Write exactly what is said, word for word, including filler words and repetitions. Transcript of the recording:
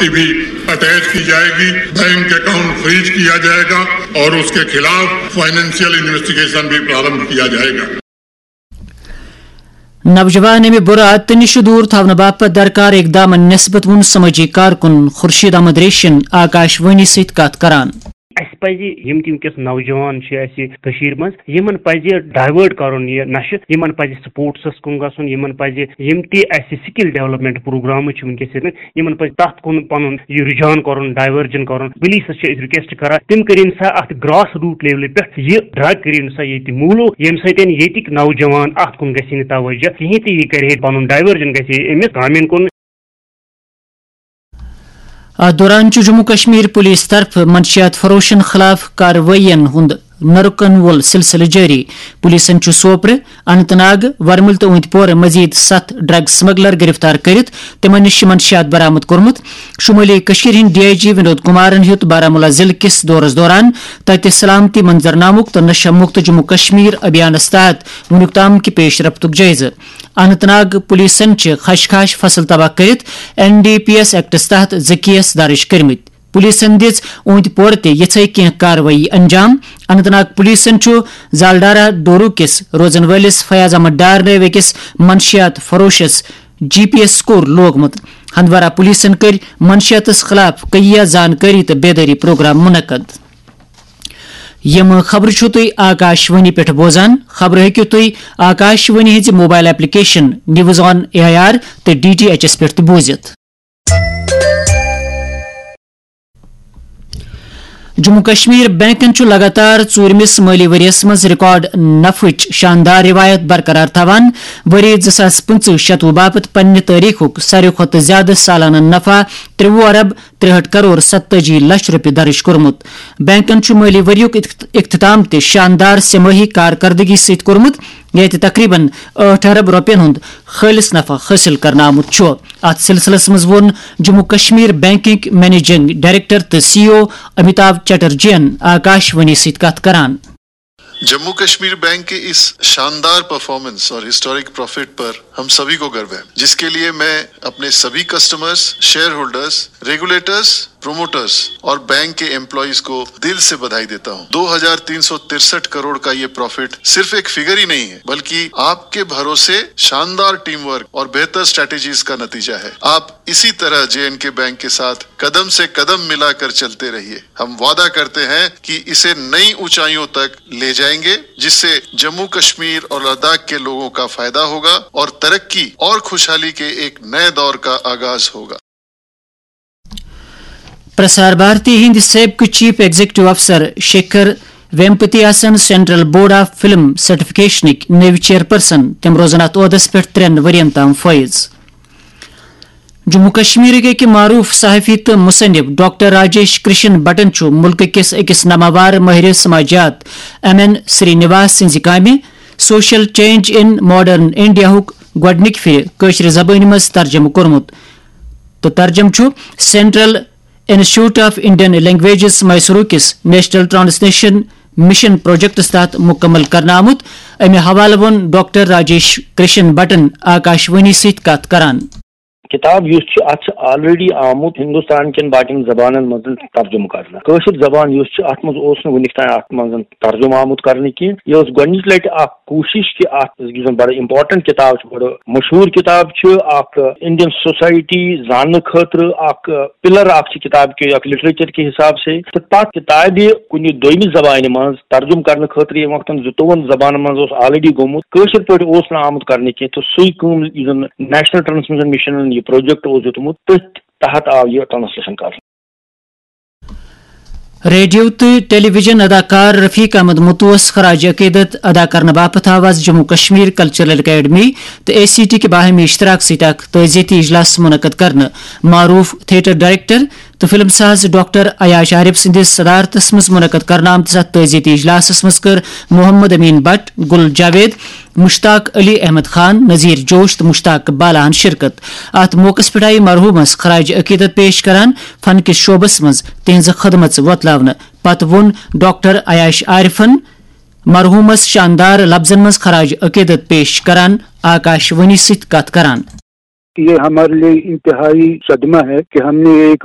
भी अटैच की जाएगी, बैंक अकाउंट फ्रीज किया जाएगा और उसके खिलाफ फाइनेंशियल इन्वेस्टिगेशन भी प्रारंभ किया जाएगा। نوجوان امہِ برٕ عادتہٕ نِش دوٗر تھاونہٕ باپتھ درکار اقدامن نسبت ووٚن سمٲجی کارکُن خورشید احمد ریشن آکاش وانی سۭتۍ کتھ کران۔ اسہِ پزِ یِم تہِ وٕنکیٚس نوجوان چھِ اسہِ کٔشیٖر منٛز، یِمن پزِ ڈایوٲرٹ کرُن یہِ نشہٕ، یِمن پزِ سپورٹسس کُن گژھُن، یِمن پزِ یِم تہِ اسہِ سکل ڈیولپمنٹ پروگرامز چھِ وٕنکیٚس ییٚتہِ، یِمن پزِ تتھ کُن پنُن یہِ رجحان کرُن، ڈایورجن کرُن۔ پولیسس چھِ أسۍ رِکویسٹ کران، تِم کٔرِن سا اتھ گراس روٹ لیولہِ پٮ۪ٹھ یہِ ڈرگ کٔرِن سا ییٚتہِ موٗلو، ییٚمہِ سۭتۍ ییٚتِکۍ نوجوان اتھ کُن گژھِ نہٕ توجہ کِہینۍ تہٕ یہِ کرِ ہے پنُن ڈایورجن گژھِ ہے أمِس کامٮ۪ن کُن۔ اتھ دوران چھُ جموں کشمیر پولیس طرفہٕ منشیات فروشن خلاف کاروٲیین ہُنٛد نہ رُکن وول سلسلہٕ جٲری۔ پولیسن چھُ سوپرٕ، اننت ناگ، ورمُل تہٕ أنٛدۍ پورٕ مزید ستھ ڈرگ سمگلر گرفتار کٔرِتھ تِمن نِش منشیات برآمد کوٚرمُت۔ شمٲلی کٔشیٖر ہٕنٛدۍ ڈی آئی جی ونود کمارن ہیوٚت بارہمولہ ضلعہٕ کِس دورس دوران تتہِ سلامتی منظرنامُک تہٕ نشہ مُکت جموں کشمیر ابھیانس تحت وُنیُک تام کہِ پیش رفتُک جٲیزٕ۔ اننت ناگ پولیسن چھِ خش خاش فصل تباہ کٔرِتھ این ڈی پی ایس ایکٹس تحت زٕ کیس درج کٔرمٕتۍ۔ پولیسن دِژ أنٛدۍ پورٕ تہِ یِژھے کینٛہہ کاروٲیی انجام۔ اننت ناگ پولیسن چھُ زالڈارہ ڈورو کِس روزن وٲلِس فیاض احمد ڈار نٲوۍ أکِس منشیات فروشس جی پی ایس سکور لوگمُت۔ ہندوارہ پولیسن کٔرۍ منشیاتس خلاف کئیہ زانکٲری تہٕ بیدٲری پروگرام منعقد۔ یِم خبرٕ چھِو تُہۍ آکاش وانی پٮ۪ٹھ بوزان۔ خبرٕ ہیٚکِو تُہۍ آکاش وانی ہٕنٛزِ mobile application news on A I R تہٕ ڈی ٹی ایچ ایس پٮ۪ٹھ تہِ بوٗزِتھ۔ جموں کشمیر بینکن چھُ لگاتار ژوٗرمِس مٲلی ؤرۍ یَس منٛز ریکارڈ نفعٕچ شاندار روایت برقرار تھاوان۔ ؤری زٕ ساس پٕنٛژٕہ شتوُہ باپتھ پننہِ تٲریخُک ساروی کھۄتہٕ زیادٕ سالانہٕ نفع ترٛوُہ ارب ترٛہٲٹھ کرور ستتٲجی لچھ رۄپیہِ درٕج کوٚرمُت۔ بینکن چھُ مٲلی ؤریُک اخت-، اختتام تہِ شاندار سہ مٲہی کارکردگی سۭتۍ کوٚرمُت، ییٚتہِ تقریباً ٲٹھ ارب رۄپین ہُنٛد خٲلص نفع حٲصِل کرنہٕ آمُت چھُ۔ اتھ سلسلس منٛز ووٚن جموں کشمیر بینکٕکۍ منیجنگ ڈائریکٹر تہٕ سی ای او امیتابھ چٹرجین آکاش وانی سۭتۍ کتھ کران۔ जम्मू कश्मीर बैंक के इस शानदार परफॉर्मेंस और हिस्टोरिक प्रॉफिट पर हम सभी को गर्व है, जिसके लिए मैं अपने सभी customers, share holders, regulators, promoters और बैंक के एम्प्लॉइज को दिल से बधाई देता हूं। दो हज़ार तीन सौ तिरसठ करोड़ का ये प्रॉफिट सिर्फ एक फिगर ही नहीं है, बल्कि आपके भरोसे, शानदार टीम वर्क और बेहतर स्ट्रेटजीज का नतीजा है। आप इसी तरह जेएंडके बैंक के साथ कदम से कदम मिलाकर चलते रहिए। हम वादा करते हैं कि इसे नई ऊंचाइयों तक ले जाएंगे, जिससे जम्मू कश्मीर और लद्दाख के लोगों का फायदा होगा और तरक्की और खुशहाली के एक नए दौर का आगाज होगा। پرسار بھارتی ہٕنٛدۍ سٲبقہٕ چیف ایگزیکٹو افسر شیکھر ویمپتی آسن سینٹرل بورڈ آف فلم سرٹیفکیشنٕکۍ نٔوۍ چیئرپرسن۔ تِم روزن اتھ عہدس پٮ۪ٹھ ترٛٮ۪ن ؤرین تام فٲیض۔ جموں کشمیرٕکۍ أکۍ معروف صحافی تہٕ مصنف ڈاکٹر راجیش کرشن بٹن چھُ مُلکہٕ کِس أکِس ناماوار مٲہرِ سماجیات ایم این سری نواس سٕنٛزِ کامہِ سوشل چینج ان ماڈرن انڈیاہُک گۄڈٕنِکۍ پھِرِ کٲشرِ زبٲنۍ منٛز ترجمہٕ کوٚرمُت۔ تہٕ ترجمہٕ چھُ central institute of Indian languages Mysuru کِس نیشنل ٹرانسلیشن مشن پروجیکٹس تحت مکمل کرنہٕ آمُت۔ امہِ حوالہٕ ووٚن ڈاکٹر راجیش کرشن بٹن آکاش وانی سۭتۍ کتھ کران۔ کتاب یُس چھُ، اتھ چھُ آلریڈی آمُت ہندوستان کٮ۪ن باقین زبانن منٛز ترجمہٕ کرنہٕ۔ کٲشِر زبان یُس چھِ، اتھ منٛز اوس نہٕ وُنیُک تام اتھ منٛز ترجمہٕ آمُت کرنہٕ کینٛہہ۔ یہِ ٲس گۄڈٕنِچ لٹہِ اکھ کوٗشِش کہِ اتھ، یُس زن بڑٕ امپورٹنٹ کتاب چھِ، بڑٕ مشہوٗر کتاب چھِ، اکھ انڈین سوسایٹی زاننہٕ خٲطرٕ اکھ پلر اکھ چھِ کتاب کہِ اکھ لٹریچر کہِ حساب سے۔ تہٕ تتھ کتابہِ کُنہِ دوٚیمہِ زبانہِ منٛز ترجمہٕ کرنہٕ خٲطرٕ ییٚمہِ وقتن زٕتووُہن زبانن منٛز اوس آلریڈی گوٚمُت، کٲشِر پٲٹھۍ اوس نہٕ آمُت کرنہٕ کینٛہہ، تہٕ سُے کٲم یُس زن نیشنل ٹرانسمیشن مشنن یہِ پروجیکٹ اوس دیُتمُت، تٔتھۍ تحت آو یہِ ٹرانسلیشن کرنہٕ۔ ریڈیو تہٕ ٹیلی ویژن اداکار رفیق احمد متوس خراج عقیدت ادا کرنہٕ باپتھ آو از جموں کشمیر کلچرل اکیڈمی تہٕ اے سی ٹی کہِ باہمی اشتراک سۭتۍ اکھ تعزیتی اجلاس منعقد کرنہٕ۔ معروف تھیٹر ڈائریکٹر تہٕ فلم ساز ڈاکٹر عیاش عارف سٕنٛدِس صدارتس منٛز منعقد کرنہٕ آمتِس اتھ تعزیتی اجلاسس منٛز کٔر محمد امین بٹ، گل جاوید، مشتاق علی احمد خان، نذیر جوش تہٕ مشتاق بالاہن شرکت۔ اتھ موقعس پٮ۪ٹھ آیہِ مرحومس خراج عقیدت پیش کران فن کِس شعبس منٛز تہنٛزٕ خدمژٕ وۄتلاونہٕ۔ پتہٕ ووٚن ڈاکٹر عیاش عارفن مرحومس شاندار لفظن منٛز خراج عقیدت پیش کران آکاش وانی سۭتۍ کتھ کران۔ یہ ہمارے لیے انتہائی صدمہ ہے کہ ہم نے ایک